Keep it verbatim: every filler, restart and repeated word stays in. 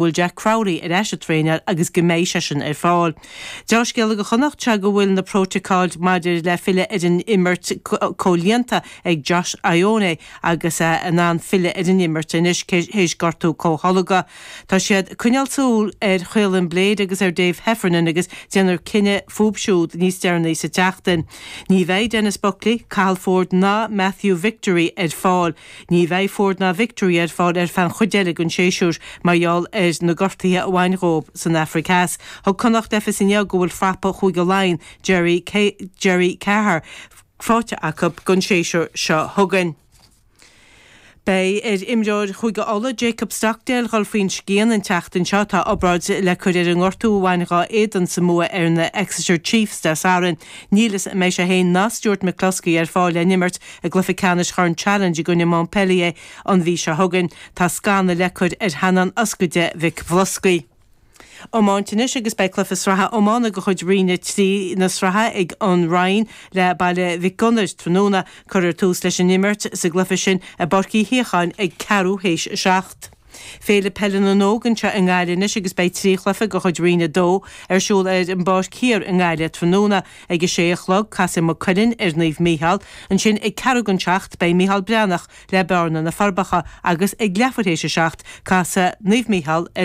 bhfuil Jack Crowley ar ais ag traenáil agus go mbeidh seisean ar fáil. Dea-scéala do Chonnacht sé go bhfuil na prótacail maidir le filleadh ar an imirt comhlíonta ag Josh Ioane agus é in ann filleadh ar an imirt anois théis gortú comhtholgtha. Tá siad ag coinneáil súil ar Chaolin Blade agus ar Dave Heffernan agus déanfar cinneadh fúthu siúd níos deireanaí sa tseachtain. Ní bheidh Denis Buckley, Cathal Ford ná Matthew Victory ar fáil. Ní bheidh Ford ná Victory ar fáil ar feadh an chuid eile den séasúr mar gheall ar na gortuithe a bhain dóibh san Afraic Theas. Thug Connacht le fios inniu go bhfuil prapa Chúige Laighean Jerry Jerry Kelleher faighte acu don séasúr seo chugainn. Beidh ar imreoir Chúige Uladh Jacob Stockdale dul faoin scian an tseachtain seo tá obráid le cur ar an ngortú a bhain dá éadan sa mbua ar na Exeter Chiefs Dé Sathairn. Níl a fhios an mbeidh sé féin ná Stuart McCloskey ar fáil le n-imirt i gcluiche ceannais Chorn Challenge i gcoinne Montpellier an mhí seo chugainn. Tá scanadh le cur ar theannán ioscaide Mhic Iomáint anois agus beidh cluiche sraithe iomána de chuid Roinn a trí na sraithe ag an Rinn le Baile Mhic Gonair tráthnóna cuirfear tús leis an imirt sa gcluiche sin i bPáirc Uí Shíocháin ag ceathrú théis a seacht. Féile Peile na nÓg anseo i nGaillimh anois agus beidh trí chluiche de chuid Roinn a dó ar siúl ar an bPáirc Thiar i nGaillimh tráthnóna ag a sé a chlog casfaidh Maigh Cuilinn ar Naomh Mícheál, ansin ag ceathrú don seacht beidh Mícheál Breathnach le Bearna na Forbacha agus ag leathuair théis a seacht casfaidh Naomh Mícheál ar